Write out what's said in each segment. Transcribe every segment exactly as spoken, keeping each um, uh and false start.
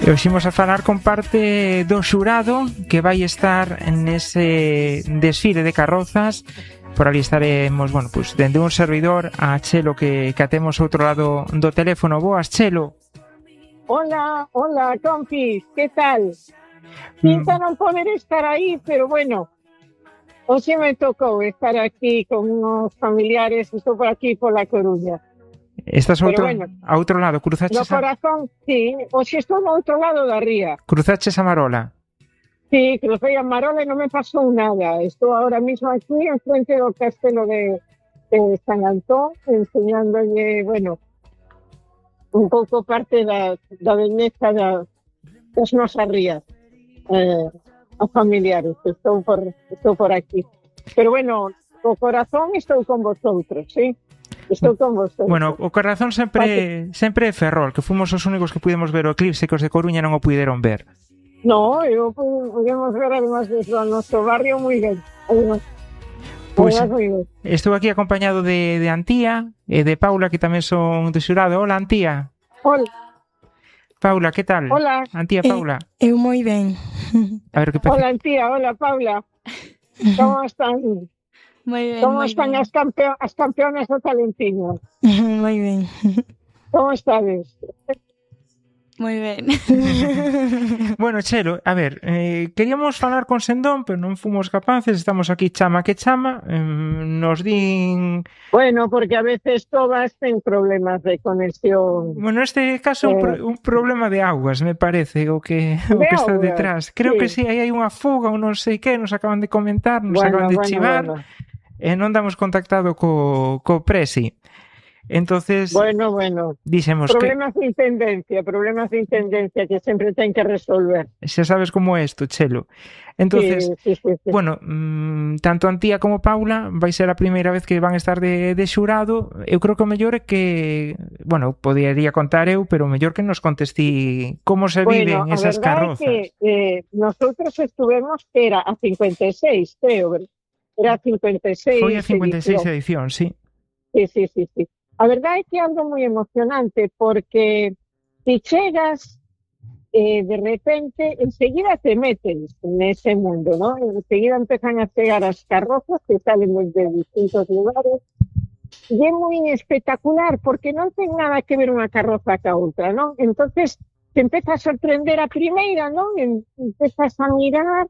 E hoxe imos a falar con parte do xurado que vai estar nese desfile de carrozas. Por ali estaremos, bueno, pues dende un servidor a Chelo que, que atemos outro lado do teléfono. Boas, Chelo. Hola, hola, compis, que tal? Pinta non poder estar aí, pero bueno, hoxe me tocou estar aquí con unos familiares, estou por aquí por La Coruña. Estás outro, bueno, a outro lado, cruzaches no corazón, a... sí, hoxe estou no outro lado da ría. Cruzaches a Marola. Sí, crucei a Marola e non me pasou nada. Estou ahora mismo aquí en frente do castelo de, de San Antón, enseñándolle, bueno, un pouco parte da, da beleza da, das nosas rías, eh, aos familiares. Estou por, estou por aquí. Pero bueno, o corazón estou con vosotros, ¿sí? Estou con vosotros. Bueno, o corazón sempre sempre é Ferrol, que fomos os únicos que pudemos ver o eclipse, que os de Coruña non o puderon ver. No, eu podemos ver además desde o noso barrio moi ben. Además, pues, estou aquí acompañado de, de Antía e de Paula, que tamén son do xurado. Hola, Antía. Hola. Paula, que tal? Hola. Antía, Paula. Eh, eu moi ben. A ver que pasa. Hola, Antía, hola, Paula. Como están? Moi ben, Como moi están ben. as, campeon as campeonas do Talentiño? Moi ben. Como estades? Moi ben. Bueno, Chelo, a ver, eh, queríamos falar con Sendón, pero non fomos capaces, estamos aquí chama que chama, eh, nos din... Bueno, porque a veces todas ten problemas de conexión. Bueno, neste caso eh... un, pro un problema de augas, me parece, o que, o de que está augas, detrás. Creo sí. que sí, aí hai unha fuga ou non sei que, nos acaban de comentar, nos bueno, acaban de bueno, chivar, bueno. e non damos contactado co, co Presi. Entonces, bueno, bueno. Dixemos problemas que... de intendencia, problemas de intendencia que sempre ten que resolver. Xa sabes como é isto, Chelo. Entonces, sí, sí, sí, sí. bueno, mmm, tanto Antía como Paula vai ser a primeira vez que van estar de, de xurado. Eu creo que o mellor é que, bueno, podería contar eu, pero o mellor que nos contestí como se bueno, viven esas carrozas. Bueno, a verdade é que eh, nosotros estuvemos, era a cincuenta e seis, creo, era a cincuenta e seis Foi a cincuenta e seis edición, edición sí. Sí, sí, sí, sí. A verdade é que é algo moi emocionante porque si chegas eh, de repente, enseguida te metes nese mundo, ¿no? Enseguida empezan a chegar as carrozas que salen desde distintos lugares e é moi espectacular porque non ten nada que ver unha carroza ca outra, ¿no? Entonces te empeza a sorprender a primeira, ¿no? Empezas a mirar,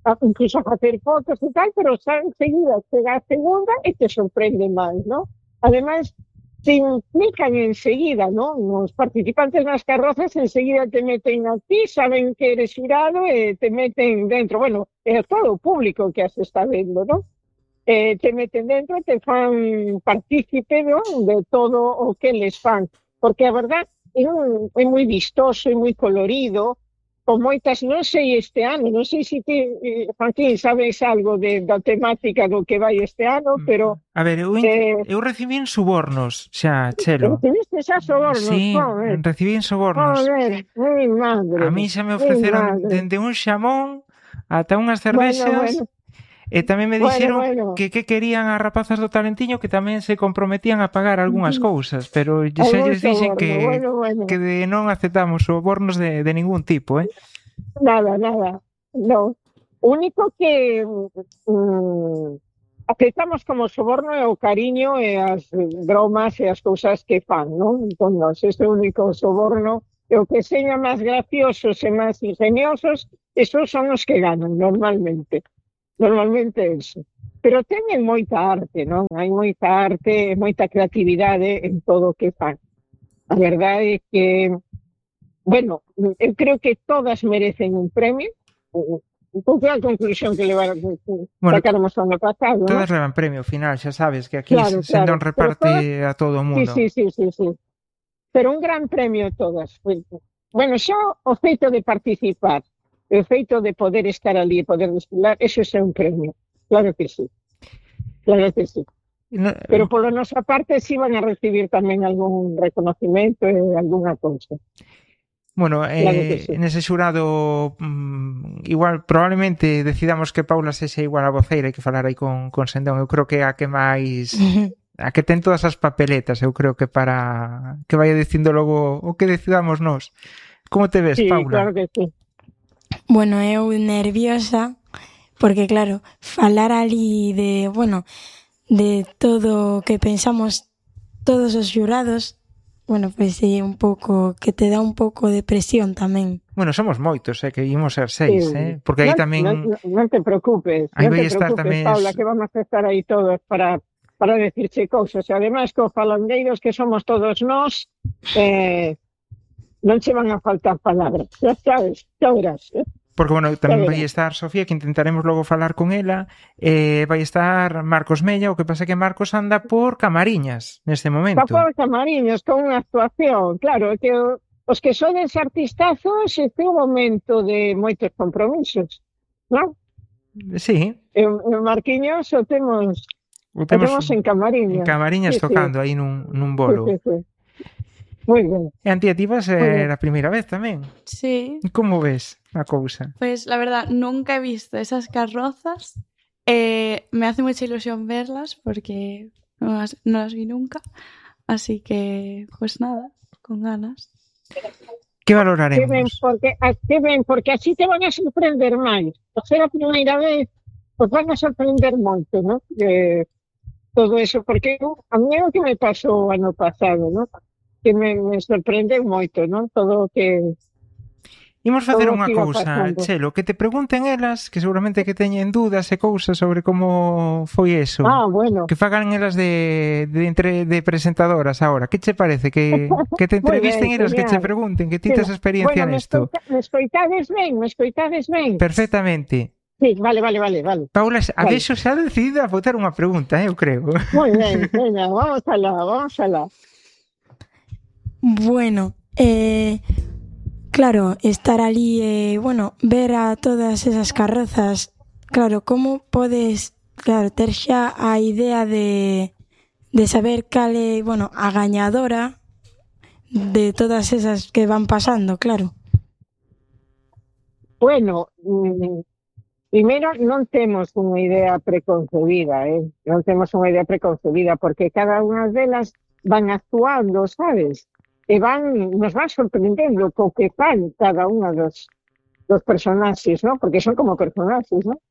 a, incluso a facer fotos e tal, pero xa enseguida chega a segunda e te sorprende máis, ¿no? Ademais, te implican enseguida, ¿no? Los participantes nas carrozas enseguida te meten a ti, saben que eres xurado e te meten dentro. Bueno, é todo o público que as está vendo, ¿no? Eh, te meten dentro, te fan partícipe, ¿no? De todo o que les fan. Porque a verdad é, un, é moi vistoso, é moi colorido, con moitas, non sei este ano, non sei se ti, Joaquín, sabes algo de, da temática do que vai este ano, pero... A ver, eu, eh, eu recibín subornos xa, Chelo. Recibiste xa sobornos? Sí, joder. recibín sobornos. Joder, mi madre. A mí xa me ofreceron dende un xamón ata unhas cervexas. Bueno, bueno. E tamén me dixeron bueno, bueno. que que querían as rapazas do Talentiño que tamén se comprometían a pagar algunhas cousas, pero xa lles dixen que, bueno, bueno. que de non aceptamos sobornos de, de ningún tipo, eh? Nada, nada, no. O único que mm, aceptamos como soborno é o cariño e as bromas e as cousas que fan, non? Con nós, ese único soborno e o que seña máis graciosos e máis ingeniosos, esos son os que ganan normalmente. Normalmente eso. Pero teñen moita arte, non? Hai moita arte, moita creatividade en todo o que fan. A verdade é que, bueno, eu creo que todas merecen un premio. Un pouco a conclusión que levaron, bueno, sacáramos ano pasado, todas ¿no? levan premio final, xa sabes que aquí claro, se claro. non reparte todas... a todo o mundo. Sí, sí, sí, sí, sí. Pero un gran premio todas. Bueno, xa o feito de participar, o feito de poder estar ali e poder desfilar, eso é un premio. Claro que sí. Claro que sí. No, pero por nosa parte sí van a recibir tamén algún reconocimiento e algunha cousa. Bueno, eh, claro sí. Nese xurado mmm, igual probablemente decidamos que Paula sexa igual a voceira e que falar aí con, con Sendón. Eu creo que a que máis a que ten todas as papeletas, eu creo que para que vaya dicindo logo o que decidamos nós. Como te ves, sí, Paula? Claro que sí. Bueno, eu nerviosa, porque claro, falar ali de, bueno, de todo o que pensamos todos os xurados, bueno, pois pues, é un pouco, que te dá un pouco de presión tamén. Bueno, somos moitos, eh, que ímos ser seis, Sí. eh? Porque aí non, tamén... Non, non te preocupes, Aí non vai te estar preocupes, tamén... Paula, que vamos a estar aí todos para, para decirche cousas. E ademais, co falandeiros que somos todos nós, eh, non che van a faltar palabras, xa sabes, xa verás. Eh? Porque, bueno, tamén vai estar Sofía, que intentaremos logo falar con ela, eh, vai estar Marcos Mella, o que pasa que Marcos anda por Camariñas neste momento. Está por Camariñas, con unha actuación, claro, que os que sodes artistazos, este é un momento de moitos compromisos, non? Sí. E o Marquiños o temos, o temos, o temos en Camariñas. En Camariñas sí, tocando sí. aí nun, nun bolo. Sí, sí, sí. Moi ben. E Antía, ti vas ser a primeira vez tamén. Sí. Como ves a cousa? Pues la verdad, nunca he visto esas carrozas. Eh, me hace mucha ilusión verlas porque no las, no las vi nunca. Así que, pues nada, con ganas. Que valoraremos? Que ben, porque, que ben, porque así te van a sorprender máis. Por ser a primeira vez, pues van a sorprender moito, ¿no? De todo eso, porque a mí é o que me pasou ano pasado, ¿no? Que me, me sorprende moito, ¿no? Todo o que... Imos facer unha cousa, Chelo, que te pregunten elas, que seguramente que teñen dúdas e cousas sobre como foi eso. Ah, bueno. Que fagan elas de, de, entre, de presentadoras ahora. Que che parece? Que, que te entrevisten elas, que che pregunten, que ti tes experiencia bueno, nesto. Me escoitades ben, me escoitades ben. Perfectamente. Sí, vale, vale, vale, vale. Paula, a vale. Vexo xa decidida a botar unha pregunta, eu creo. Moi ben, venga, vamos alá, vamos alá. Bueno, eh, claro, estar ali, eh, bueno, ver a todas esas carrozas, claro, como podes, claro, ter xa a idea de, de saber cal é, bueno, a gañadora de todas esas que van pasando, claro. Bueno, mm, primeiro non temos unha idea preconcebida, eh? Non temos unha idea preconcebida, porque cada unha delas van actuando, sabes? E van, nos van sorprendendo co que fan cada unha dos, dos personaxes, ¿no? Porque son como personaxes, ¿no?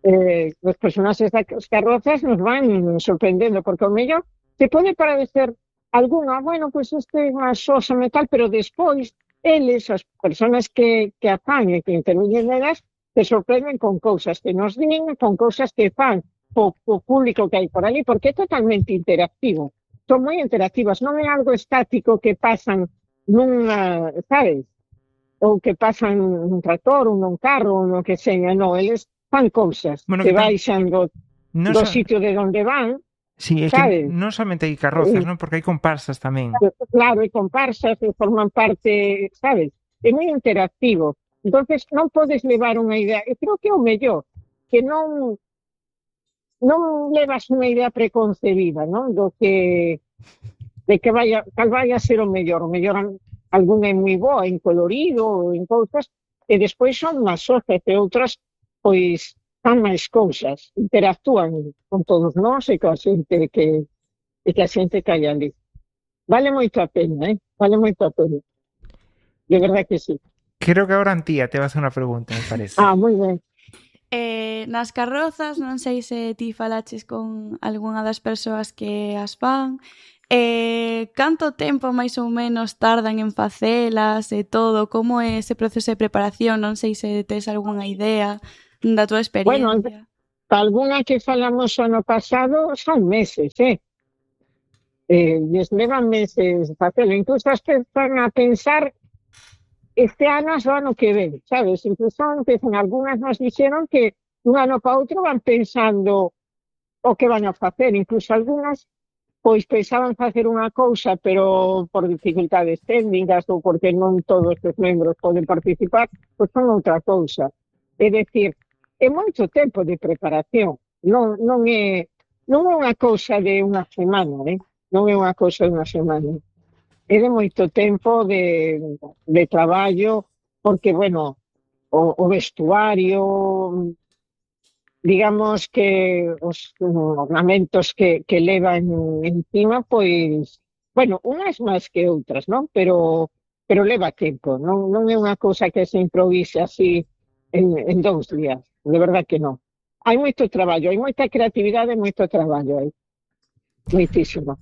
Eh, os personaxes das carrozas nos van sorprendendo, porque o mellor te pode parecer algunha, bueno, pois pues este é unha sosa metal, pero despois eles, as persoas que, que a fan e que intervienen nelas, te sorprenden con cousas que nos din, con cousas que fan o, o público que hai por ali, porque é totalmente interactivo. Son moi interactivas, non é algo estático que pasan nunha, sabes? Ou que pasan nun tractor, ou nun carro, ou no que seña, non, eles fan cousas bueno, que, que baixan do, no do so... sitio de onde van. Sí, é sabes? Que non somente hai carrozas, non? Porque hai comparsas tamén. Claro, hai comparsas que forman parte, sabes? É moi interactivo. Entonces non podes levar unha idea, eu creo que é o mellor, que non non levas unha idea preconcebida, non? Do que de que vaya, cal vaya a ser o mellor, o mellor algún é moi boa en colorido, en cousas, e despois son máis sosas e outras, pois, fan máis cousas, interactúan con todos nós e coa xente que e que a xente que hai ali. Vale moito a pena, eh? Vale moito a pena. De verdade que sí. Creo que agora Antía te va a hacer unha pregunta, me parece. Ah, moi ben. Eh, nas carrozas, non sei se ti falaches con algunha das persoas que as fan, eh, canto tempo máis ou menos tardan en facelas e todo, como é ese proceso de preparación, non sei se tes algunha idea da tua experiencia. Bueno, algunha que falamos o ano pasado son meses, eh? Eh, les levan meses facelo, incluso as empezan a pensar este ano o ano que ven, sabes? Incluso empezan, algunhas nos dixeron que un ano para outro van pensando o que van a facer, incluso algunhas pois pensaban facer unha cousa, pero por dificultades técnicas ou porque non todos os membros poden participar, pois son outra cousa. É dicir, é moito tempo de preparación, non, non é non é unha cousa de unha semana, eh? Non é unha cousa de unha semana. É de moito tempo de, de traballo, porque, bueno, o, o vestuario, digamos que os ornamentos que, que levan encima, pois, bueno, unhas máis que outras, non? Pero pero leva tempo, non, non é unha cousa que se improvise así en, en dous días, de verdad que non. Hai moito traballo, hai moita creatividade e moito traballo aí, moitísimo.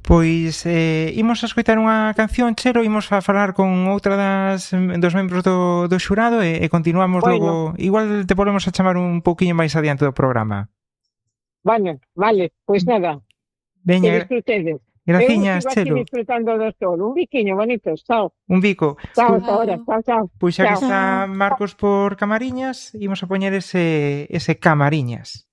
Pois eh, imos a escoitar unha canción, Chelo, imos a falar con outra das dos membros do, do xurado e, e continuamos bueno. Logo, igual te volvemos a chamar un pouquiño máis adiante do programa. Vale, vale, pois nada. Veña, que disfrutedes. Graciñas, Chelo. Eu disfrutando do sol. Un biquiño bonito, chao. Un bico. Chao, hasta ahora, chao, chao. Pois xa que está Marcos por Camariñas, imos a poñer ese, ese Camariñas.